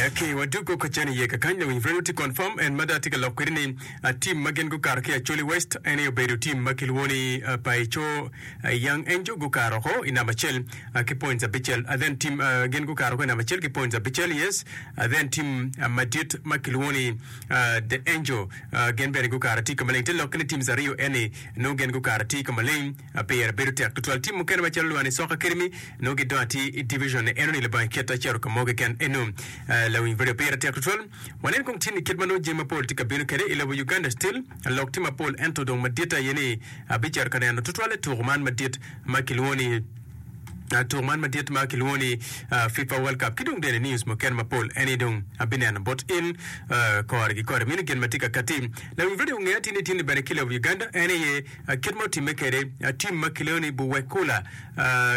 Ok, wadwogo ka cen iye kakany lawiny Radio tye confirm en mada atye ka lok kwede ni team ma gin gukato ki Acholi West en aye obedo team ma kilwongo ni Paico Young Angel gukato oko i namba acel ki points abicel then team gin gukato oko i namba acel ki points abicel yes then team madit ma kilwongo ni The Angel gin bene gukato atir ka maleng te lokke ni teams aryo eni nongo gin gukato atir ka maleng. Pire bedo tek tutwal. Tim mukene macalo Lwani Soka Academy nongo gidongo atir i division eno ni labongo iketa acito ka mo keken eno. Lawiny radio pire tek tutwal. Wanen kong tin i kit ma nongo jami mapol tye ka bino kwede i lobo Uganda still lok tye mapol ento dong madit aye ni abicito ka neno tutwale tuku man madit ma kilwongo ni tuku man madit ma kilwongo ni FIFA World Cup ki dong bene news mukene mapol eni dong abineno bot in kore ki kore meno gin ma tye ka kati. Lawiny radio ongeya tin ni tin ni bene ki lobo Uganda en aye Kit ma otimme kwede, tim ma kileo ni Buwekula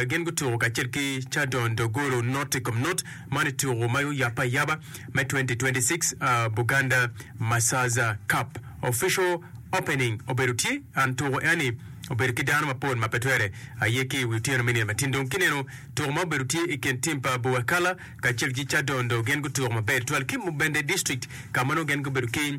gin gutuko kacel ki Chadon Dogolo not i kom not man i tuko ma oyabbe ayaba me 2026 Buganda Masaza Cup. Official opening obedo tye and tuko eni obedo ki dano mapol ma pe twere aye ki i wi otyeno me nino matin. Dong kineno tuko ma obedo tye i kin tim pa Buwekala kacel ki Kyadondo gin gutuko maber tutwal ki Mubende District ka ma nongo gin gubedo ki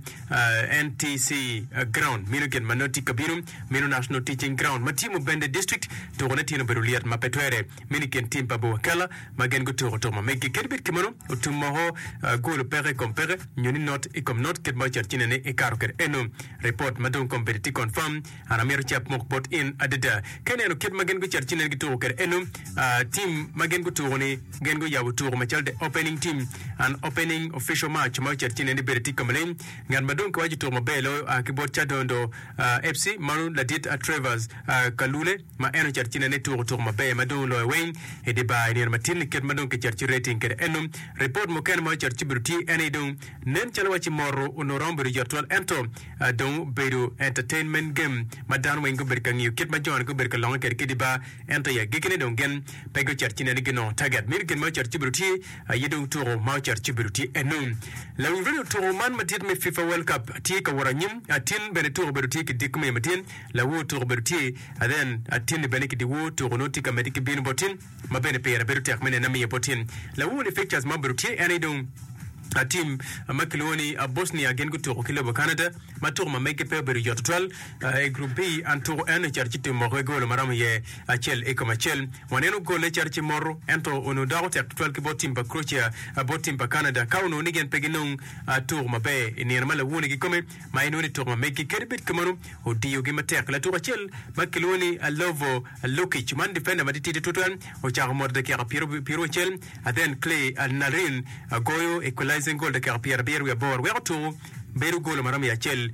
NTC Ground meno gin ma nongo tye ka bino meno National Teaching Ground ma tye Mubende District. Tukone tyen obedo lyet ma pe twere meno i kin tim pa Buwakela ma gin gutuko tuko ma meggi. Kadi bed kimono otum moko gol peke i kom peke nyo ni not i kom not kit ma ocito ci nene ikato kwede eno ripot ma dong kombeddi tye confirm. An amito cap mok bot in adada. Ka ineno kit ma gin gucito ci nen gituko kwede eno, team ma gin gutuko ni gin guyabo tuko macalo the opening team, an opening official match ma ocito ci nen ni bedo tye ka maleng. Ngat ma dong kiwaco tuko maber loyo oa ki bot Kyadondo FC mano ladit Trevors Kalule ma en ocito ci nen ni tuko tuko maber ma dong oloyo weng i dye bar i nino matin ni kit ma dong kicito ci rating kwede eno. Ripot mukene ma ocito ci bedo tye en aye dong nen calo waci moto onongo romo bedo yot twal ento dong obedo entertainment game ma dano weng gubedo ka ngiyo kit ma joni gubedo ka longe kwede ki dye bar ento i agikkine dong gin pe gucito ci nene ginongo target meno gin ma ocito ci obedo tye aye dong tuko ma ocito ci obedo tye eno. Lawiny radio tuko man madit me FIFA World Cup tye ka wot anyim atin bene tuko obedo tye ki diko me matin lawor tuko obedo tye then atinni bene ki dyewor tuko nongo tye ka medde ki bino bot tin ma bene pire bedo tek me nene amiyo bot tin lawor ni fixtures ma obedo tye en aye dong Tim ma kilwongo ni Bosnia gin gutuko ki lobo Canada ma tuko ma meggi pe obedo yot tutwal. I Group B, an tuko en ocito ci timo ki golo ma romo iye acel i kom acel. Waneno golle cito ci moto, ento onongo doko tek tutwal ki bot tim pa Croatia bot tim pa Canada ka onongo ni gin pe ginong tuko maber i nino ma lawoni kikome ma inongo ni tuko ma meggi. Kadi bed kumeno, odiyogi matek. Latuko acel ma kilwongo ni Lovo Lukic, man difenda matitidi tutwal, ocako moto dakika pyeraucel. Then Clay Narin goyo equalizing goal dakika pyerabiro wiye aboro weko tuku bedo golo ma romo i acel.